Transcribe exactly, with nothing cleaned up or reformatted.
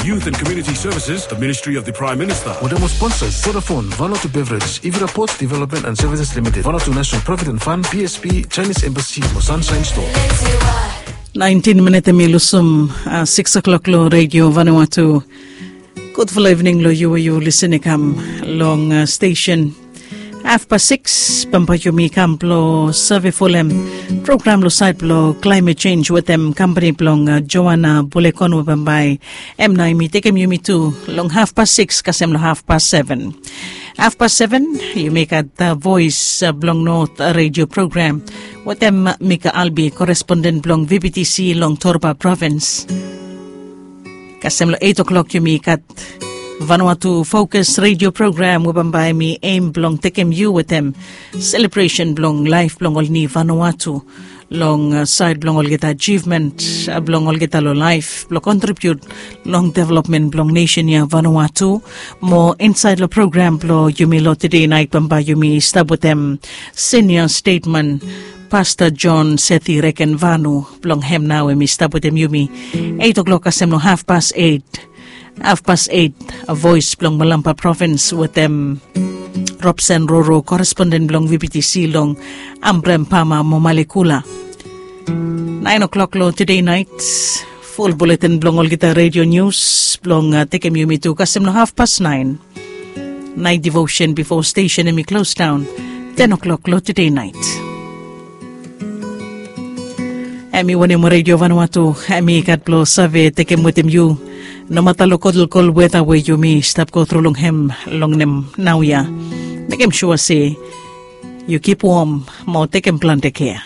Youth and Community Services, the Ministry of the Prime Minister. Wetem ol sponsors, Vodafone, Vanuatu Beverage, Ivira Ports Development and Services Limited, Vanuatu National Provident Fund, P S P, Chinese Embassy mo Sunshine Store. Naentin minit hemi lusum sikis klok long Redio Vanuatu. Gudfala ivning long yu we yu lisin i kam long stesen. Hafpas sikis bambae yumi kam blong save folem program long sait blong klaimet jenj wetem kampani blong Joana Bulekon we bambae hem nao yumi tekem yumi tu long hafpas sikis kasem long hafpas seven. Hafpas seven yumi gat Voes blong Not Redio Program wetem Mika Albi, koresponden blong V B T C long Torba Provins. Kasem long eit klok yumi gat Vanuatu Fokus Redio Program we bambae hemi em blong tekem yu wetem selebresen blong laef blong ol ni Vanuatu long sait blong olgeta ajivmen blong olgeta long laef blong kontribiut long developmen blong nesen ya Vanuatu. Mo insait long program blong yumi long tede nait bambae yumi stap wetem senia stetman Pasta John Seti Reken Vanu blong hem nao hemi stap wetem yumi eit klok kasem long hafpas eit. Hafpas eit, Voes blong Malampa Provins wetem Robsen Roro, koresponden blong V B T C long Ambrem Pama mo Malekula. Naen klok long tede nait, ful buletin blong olgeta redio nius blong tekem yumi tu kasem long hafpas naen. Nait divosen bifo stesen hemi klosdaon ten klok long tede nait. Hemi wanem Redio Vanuatu hemi gat blong save tekem wetem yu, nomata long kolkol weta we yumi stap gotru long hem long nem naoia. Mekem sua se yu kip wom mo tekem plante kea.